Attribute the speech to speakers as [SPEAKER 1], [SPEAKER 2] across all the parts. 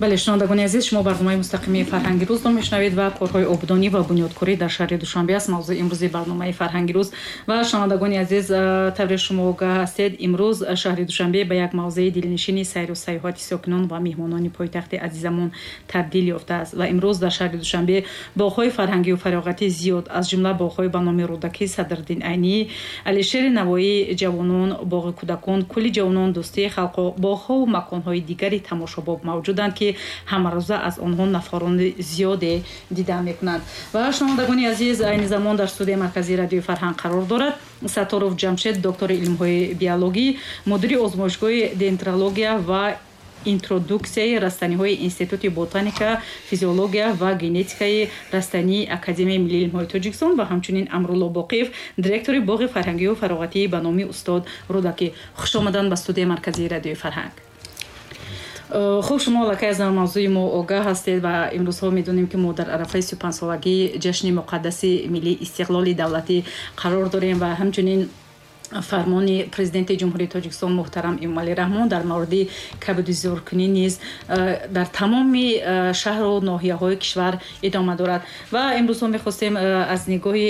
[SPEAKER 1] Бале, шунавандагони азиз, шумо барномаи мустақими «Фарҳанги рӯзро мешунавед ва корҳои ободонӣ ва бунёдкорӣ дар шаҳри Душанбе аст мавзӯи имрӯзи барномаи «Фарҳанги рӯз». Ва шунавандагони азиз, тавре шумо огаҳ ҳастед, имрӯз шаҳри Душанбе ба як мавзеи дилнишини сайру сайёҳати сокинон ва меҳмонони пойтахти азизамон табдил ёфтааст. Ва имрӯз дар шаҳри Душанбе боғҳои фарҳангию фароғатӣ зиёд, аз ҷумла боғҳои ба номи Рӯдакӣ, Садриддин Айнӣ, Алишери Навоӣ, Ҷавонон, боғи кӯдакон, Кӯли ҷавонон, Дӯстии халқҳо, боғҳову маконҳои дигари тамошобоб мавҷуданд, ки ҳамарӯза аз онҳо нафарони зиёде дида мекунанд. Ва шунавандагони азиз, айни замон дар студияи марказии Радиои Фарҳанг қарор дорад Сатторов Ҷамшед, доктори илмҳои биологӣ, мудири озмоишгоҳи дендрология ва интродуксияи растаниҳои Институти ботаника, физиология ва генетикаи растании Академияи миллии илмҳои Тоҷикистон ва ҳамчунин Амрулло Боқиев, директори боғи фарҳангию фароғатии ба номи устод Рӯдакӣ. Хуш омадан ба студияи марказии Радиои Фарҳанг. Хуб, шумо аллакай аз мавзӯи мо огаҳ ҳастед ва имрӯзҳо медонем, ки мо дар арафаи 35-солагии ҷашни муқаддаси миллии истиқлоли давлатӣ қарор дорем ва ҳамчунин фармони Президенти Ҷумҳурии Тоҷикистон муҳтарам Эмомалӣ Раҳмон дар мавриди кабудизоркунӣ низ дар тамоми шаҳру ноҳияҳои кишвар идома дорад. Ва имрӯзҳо мехостем аз нигоҳи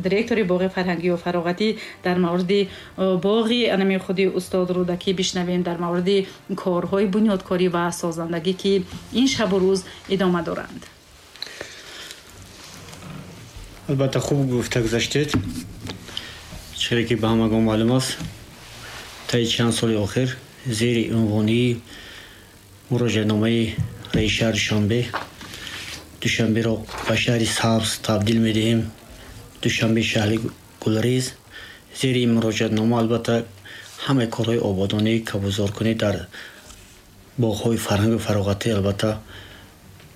[SPEAKER 1] директори боғи фарҳангию фароғатӣ дар мавриди боғи анами худи устод Рӯдакӣ бишнавем, дар мавриди корҳои бунёдкорӣ ва созандагӣ, ки ин шабу рӯз идома доранд.
[SPEAKER 2] Албатта, хуб гуфта гузаштед. Чизе ки ба ҳамагон маълум аст, таи чанд соли охир зери унвонии муроҷиатномаи раиси шаҳри Душанбе «Душанберо ба шаҳри сабз табдил медиҳем, Душанбе шаҳри гулрез», зери ин муроҷиатнома албатта ҳамаи корҳои ободонӣ, кабудзоркунӣ дар боғҳои фарҳангу фароғатӣ албатта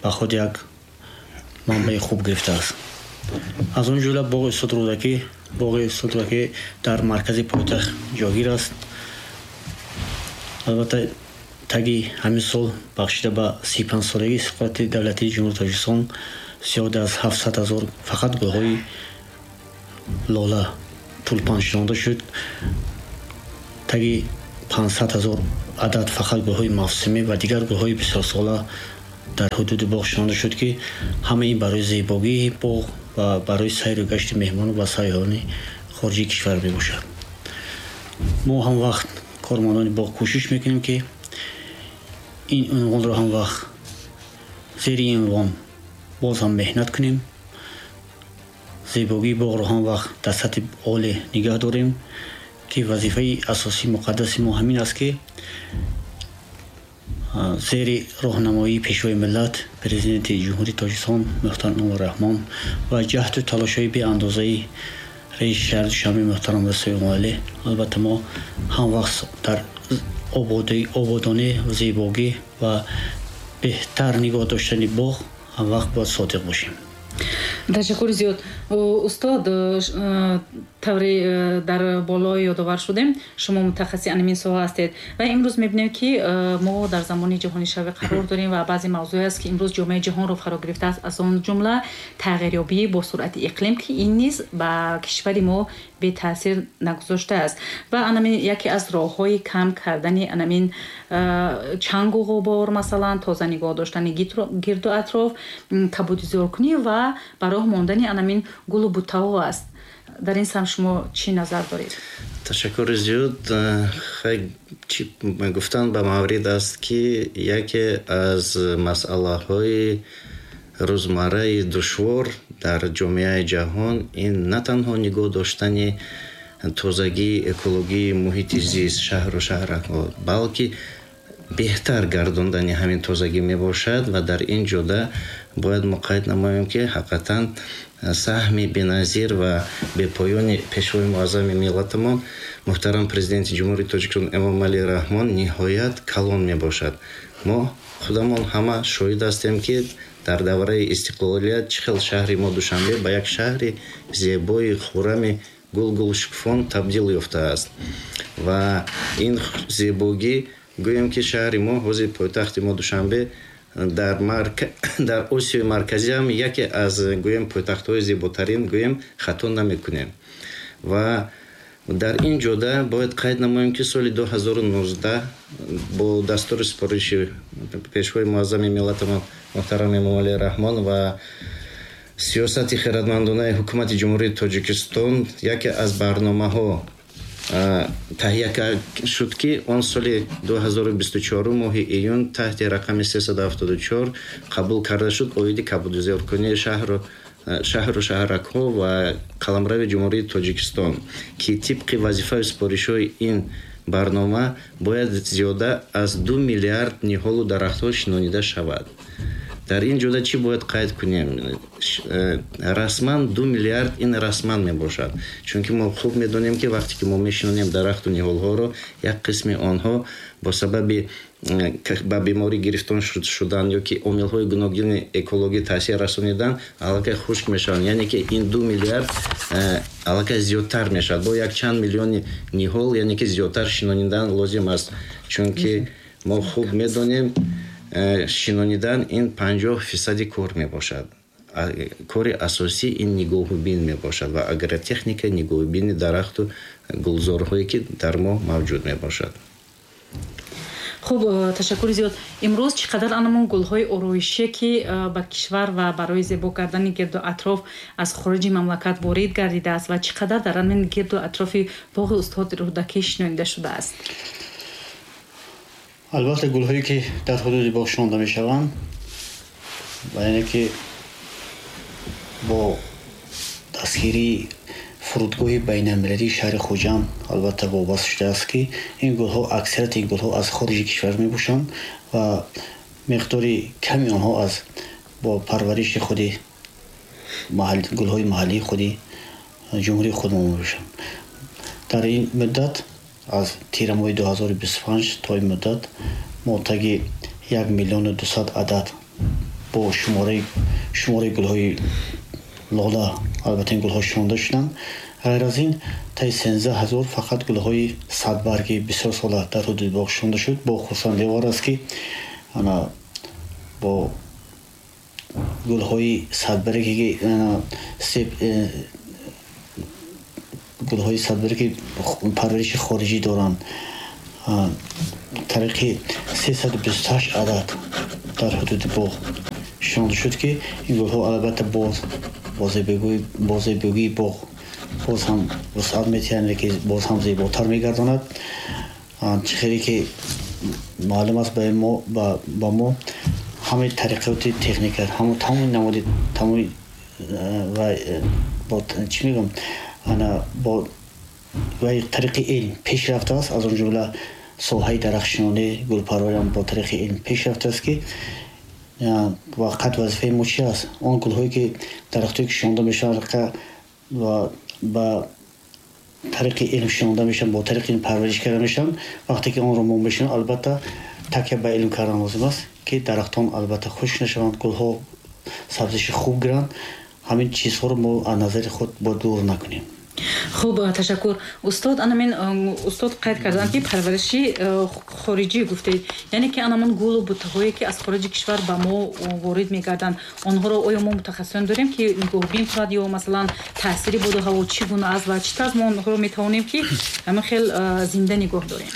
[SPEAKER 2] ба худ як манбаи хуб гирифтааст. Аз он ҷумла боғи устод Рӯдакӣ. Боғи устод Рӯдакӣ дар маркази пойтахт ҷойгир аст. Албатта, таги ҳамин сол бахшида ба 35-солагии истиқлолияти давлатии Ҷумҳурии Тоҷикистон зиёда аз 700 000 фақат гулҳои лола, тулпан шинонда шуд. Таги 500 000 адад фақат гулҳои мавсимӣ ва дигар гулҳои бисёрсола дар ҳудуди боғ шинонда шуд, ки ҳама ин барои зебогии боғ ва барои сайру гашти меҳмону ва сайёҳони хориҷии кишвар мебошад. Мо ҳам вақт кормандони боғ кӯшиш мекунем, ки ин унвонро ҳам вақт зери ин унвон боз ҳам меҳнат кунем, зебогии боғро ҳам вақт дар сатҳи оле нигаҳ дорем, ки вазифаи асосии муқаддаси мо ҳамин аст, ки зери роҳнамоии Пешвои миллат, Президенти Ҷумҳурии Тоҷикистон муҳтарам Эмомалӣ Раҳмон ва ҷаҳду талошҳои беандозаи раиси шаҳри Душанбе муҳтарам Рустами Эмомалӣ, албатта мо ҳам вақт дар ободонӣ, зебогӣ ва беҳтар нигоҳ доштани боғ ҳам вақт бояд содиқ бошем.
[SPEAKER 1] Ташаккури зиёд, устод. Тавре дар боло ёдовар шудем, шумо мутахассиси анамин соҳа ҳастед ва имрӯз мебинем, ки мо дар замони ҷаҳонишавӣ қарор дорем ва баъзе мавзӯе аст, ки имрӯз ҷомеаи ҷаҳонро фаро гирифтааст, аз он ҷумла тағйирёбии бо суръати иқлим, ки ин низ ба кишвари мо бетаъсир нагузоштааст. Ва анамин яке аз роҳҳои кам кардани анамин чангу ғубор, масалан, тоза нигоҳ доштани гирду атроф, кабудизоркунӣ ва ба роҳ мондани анамин гулу буттаҳо аст. Дар ин самт шумо чӣ назар доред?
[SPEAKER 3] Ташаккури зиёд. Чӣ гуфтан ба маврид аст, ки яке аз масъалаҳои рӯзмарраи душвор дар ҷомеаи ҷаҳон ин на танҳо нигоҳ доштани тозагии экологии муҳити зист, шаҳру шаҳракҳо, балки беҳтар гардондани ҳамин тозагӣ мебошад. Ва дар ин ҷода бояд мо қайд намоем, ки ҳақиқатан саҳми беназир ва бепоёни Пешвои муаззами миллатамон, муҳтарам Президенти Ҷумҳурии Тоҷикистон Эмомалӣ Раҳмон ниҳоят калон мебошад. Мо худамон ҳама шоҳид ҳастем, ки дар давраи истиқлолият чӣ хел шаҳри мо Душанбе ба як шаҳри зебои хуррами гулгулшукуфон табдил ёфтааст. Ва ин зебогӣ, гӯем, ки шаҳри мо, ҳозир пойтахти мо Душанбе дар Осиёи Марказӣ ҳам яке аз, гӯем, пойтахтҳои зеботарин, гӯем, хато намекунем. Ва Дар ин ҷода бояд қайд намоем, ки соли 2019 бо дастури супориши Пешвои муаззами миллатамон муҳтарам Эмомалӣ Раҳмон ва сиёсати хирадмандонаи Ҳукумати Ҷумҳурии Тоҷикистон яке аз барномаҳо таҳия шуд, ки он соли 2024 моҳи июн таҳти рақами 374 қабул карда шуд, оиди кабудизоркунии шаҳру шаҳракҳо ва қаламрави Ҷумҳурии Тоҷикистон, ки тибқи вазифаю супоришҳои ин барнома бояд зиёда аз 2 миллиард ниҳолу дарахтҳо шинонида шавад. Дар ин ҷода чӣ бояд қайд кунем? Расман 2 миллиард, ин расман мебошад, чунки мо хуб медонем, ки вақте ки мо мешинонем дарахту ниҳолҳоро, як қисми онҳо бо сабаби ба беморӣ гирифтор шудан ё ки омилҳои гуногуни экологӣ таъсир расонидан аллакай хушк мешаванд. Яъне ки ин 2 миллиард аллакай зиёдтар мешавад, бо якчанд миллиони ниҳол, яъне ки зиёдтар шинонидан лозим аст, чунки мо хуб медонем, шинонидан ин 50 фисади кор мебошад. Кори асосӣ ин нигоҳубин мебошад ва агротехника, нигоҳубини дарахту гулзорҳое, ки дар мо мавҷуд мебошад.
[SPEAKER 1] Хуб, ташаккури зиёд. Имрӯз чӣ қадар анамон гулҳои ороишие, ки ба кишвар ва барои зебо кардани гирду атроф аз хориҷи мамлакат ворид гардидааст ва чӣ қадар дар ҳамин гирду атрофи боғи устод Рӯдакӣ шинонида шудааст?
[SPEAKER 2] Албатта, гулҳое, ки дар ҳудуди боғ шинонда мешаванд ва яъне ки бо дастгирии фурудгоҳи байналмилалии шаҳри Хуҷанд албатта вобаста шудааст, ки ин гулҳо, аксарияти ин гулҳо аз хориҷи кишвар мебошанд ва миқдори ками онҳо аз бо парвариши худи гулҳои маҳаллии худи ҷумҳурии худмон мебошанд. Дар ин муддат, аз тирамоҳи 2025 то ин муддат, мо таги 1 миллиону 200 адад бо шумораи гулҳои лола, албатта, ин гулҳо шинонда шуданд. Ғайр аз ин, таи 13 000 фақат гулҳои садбарги бисёрсола дар ҳудуди боғ шинонда шуд. Бо хурсандиовар аст, ки ана бо гулҳои садбарге, ки гулҳои садбарге, ки парвариши хориҷӣ доранд, тариқи 328 адад дар ҳудуди боғ шинонда шуд, ки ин гулҳо албатта боз бо зебогии боғ боз ҳам вусъат метиҳанд, ки боз ҳам зеботар мегардонад. Чӣ хеле ки маълум аст ба мо, ҳамаи тариқоти техника, тамоми намуди, тамоми ва чӣ мегӯям, ана бо тариқи илм пеш рафтааст, аз он ҷумла соҳаи дарахтшинонӣ, гулпарвариам бо тариқи илм пеш рафтааст, ки вақат вазифаи мо чи аст? Он гулҳое ки, дарахтое ки шинонда мешаванд ва ба тариқи илм шинонда мешаванд, бо тариқи илм парвариш карда мешаванд, вақте ки онро мо мешинонем, албатта, такя ба илм кардан лозим аст, ки дарахтон албатта хушк нашаванд, гулҳо сабзиши хуб гиранд. Ҳамин чизҳоро мо аз назари худ бояд дур накунем.
[SPEAKER 1] Хуб, ташаккур, устод. Анамин устод қайд карданд, ки парвариши хориҷӣ гуфтед, яъне ки анамон гулу буттаҳое, ки аз хориҷи кишвар ба мо ворид мегарданд, онҳоро оё мо мутахассисон дорем, ки нигоҳубин кунад, ё масалан таъсири боду ҳаво чӣ гуна аст ва чӣ тавр мо онҳоро метавонем, ки ҳамин хел зинда нигоҳ дорем?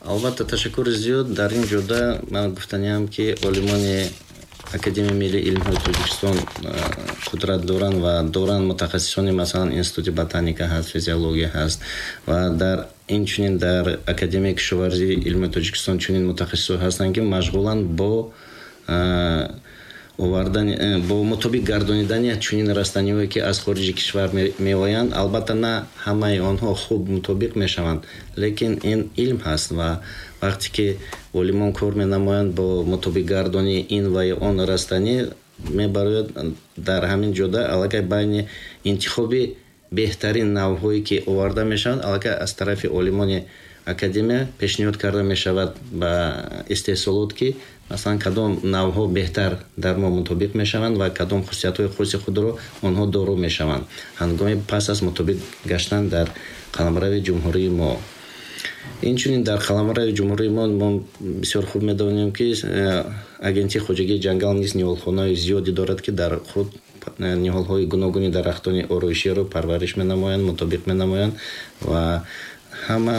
[SPEAKER 3] Албатта, ташаккури зиёд. Дар ин ҷода ман гуфтаниам, ки олимони Академияи миллии илмҳои Тоҷикистон қудрат доранд ва доранд мутахассисони, масалан, Институти ботаника ҳаст, физиология ҳаст ва дар инчунин дар Академияи кишоварзии илми Тоҷикистон чунин мутахассисо ҳастанд, ки машғуланд бо овардани, бо мутобиқ гардонидани чунин растаниҳое, ки аз хориҷи кишвар меоянд. Албатта, на ҳамаи онҳо хуб мутобиқ мешаванд, лекин ин илм ҳаст ва вақте ки олимон кор менамоянд бо мутобиқгардонии ин ва ё он растанӣ, мебарояд дар ҳамин ҷода аллакай байни интихоби беҳтарин навъҳое, ки оварда мешаванд, аллакай аз тарафи олимони академия пешниҳод карда мешавад ба истеҳсолот, ки масалан кадом навъҳо беҳтар дар мо мутобиқ мешаванд ва кадом хусусиятҳои хоси худро онҳо доро мешаванд ҳангоми пас аз мутобиқ гаштан дар қаламрави ҷумҳурии мо. Инчунин дар қаламрави ҷумҳурии мо мо бисёр хуб медонем, ки Агентии хоҷагии ҷангал низ ниҳолхонаҳои зиёде дорад, ки дар худ ниҳолҳои гуногуни дарахтони ороиширо парвариш менамоянд, мутобиқ менамоянд ва ҳама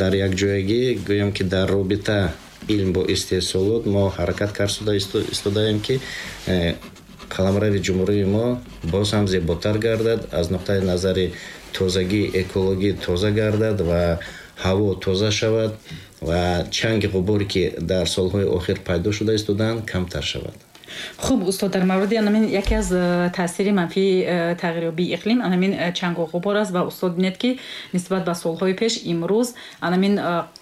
[SPEAKER 3] дар якҷоягӣ, гӯям ки дар робита илм бо истеҳсолот мо ҳаракат карда истодаем, ки қаламрави ҷумҳурии мо боз ҳам зеботар гардад, аз нуқтаи назари тозагии экологӣ тоза гардад ва ҳаво тоза шавад ва чанги ғуборе, ки дар солҳои охир пайдо шуда истодаанд, камтар шавад.
[SPEAKER 1] Хуб, устод, дар мавриди анамин яке аз таъсири манфии тағйирёбии иқлим анамин чангу ғубор аст. Ва устод, бинед, ки нисбат ба солҳои пеш имрӯз анамин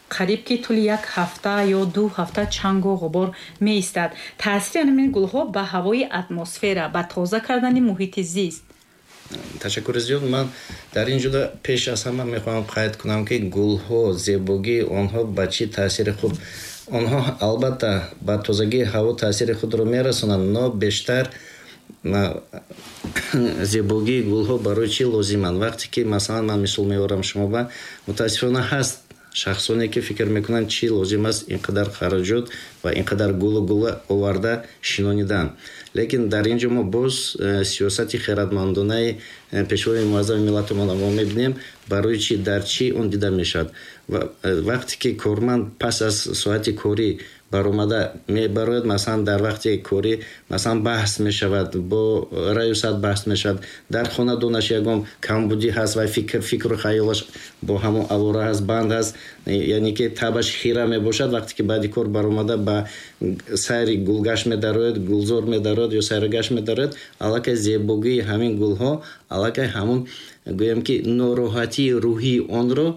[SPEAKER 1] қариб ки тӯли як ҳафта ё 2 ҳафта чангу ғубор меистад. Таъсири анамин гулҳо ба ҳавои атмосфера, ба тоза кардани муҳити зист?
[SPEAKER 3] Ташаккури зиёд. Ман дар ин ҷуда пеш аз ҳама мехоҳам қайд кунам, ки гулҳо, зебогии онҳо ба чӣ таъсири хуб. Онҳо албатта ба тозагии ҳаво таъсири худро мерасонанд, но бештар зебогии гулҳо барои чӣ лозиманд? Вақте ки, масалан, ман мисол меорам шумо ба, мутаассифона, ҳаст шахсоне, ки фикр мекунанд, чӣ лозим аст ин қадар хароҷот ва ин қадар гулу гула оварда шинонидан. Лекин дар ин ҷо мо боз сиёсати хирадмандонаи пешвои муаззами миллатамонро мо мебинем. Барои чӣ, дар чӣ он дида мешавад? Вақте ки корманд пас аз соати корӣ баромада мебарояд, масалан, дар вақти корӣ, масалан, баҳс мешавад, бо раёсат баҳс мешавад, дар хонадонаш ягон камбудӣ ҳаст ва фикру хаёлаш бо ҳамон авора ҳаст, банд ҳаст, яъне ки табаш хира мебошад. Вақте ки баъди кор баромада ба сайри гулгашт медарояд, гулзор медарояд ё сайргашт медарояд, аллакай зебогии ҳамин гулҳо аллакай ҳамон, гӯям ки, нороҳатии рӯҳии онро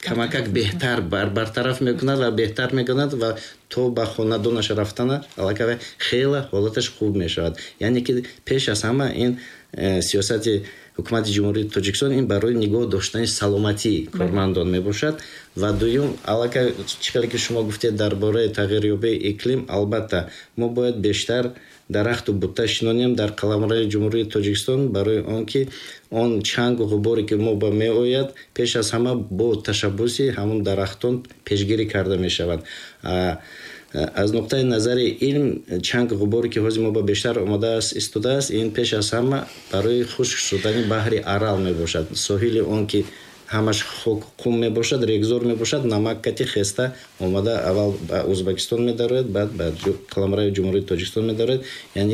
[SPEAKER 3] камакак беҳтар бартараф мекунад ва беҳтар мекунад ва то ба хонадонаш рафтана аллакай хеле ҳолаташ хуб мешавад. Яъне ки пеш аз ҳама ин сиёсати ҳукумати Ҷумҳурии Тоҷикистон ин барои нигоҳ доштани саломатии кормандон мебошад. Ва дуюм, аллакай чӣ хеле ки шумо гуфтед дар бораи тағйирёбии иқлим, албатта, мо бояд бештар дарахту бутта шинонем дар қаламрави Ҷумҳурии Тоҷикистон, барои он ки он чангу ғуборе, ки мо ба меояд, пеш аз ҳама бо ташаббуси ҳамон дарахтон пешгирӣ карда мешавад. Аз нуқтаи назари илм, чангу ғуборе, ки ҳозир мо ба бештар омадааст истодааст, ин пеш аз ҳама барои хушк шудани баҳри Арал мебошад. Соҳили он ки ҳамаш хок, қум мебошад, регзор мебошад, намак кати хеста омада аввал ба Ӯзбекистон медарояд, баъд ба қаламрави Ҷумҳурии Тоҷикистон медарояд, яъне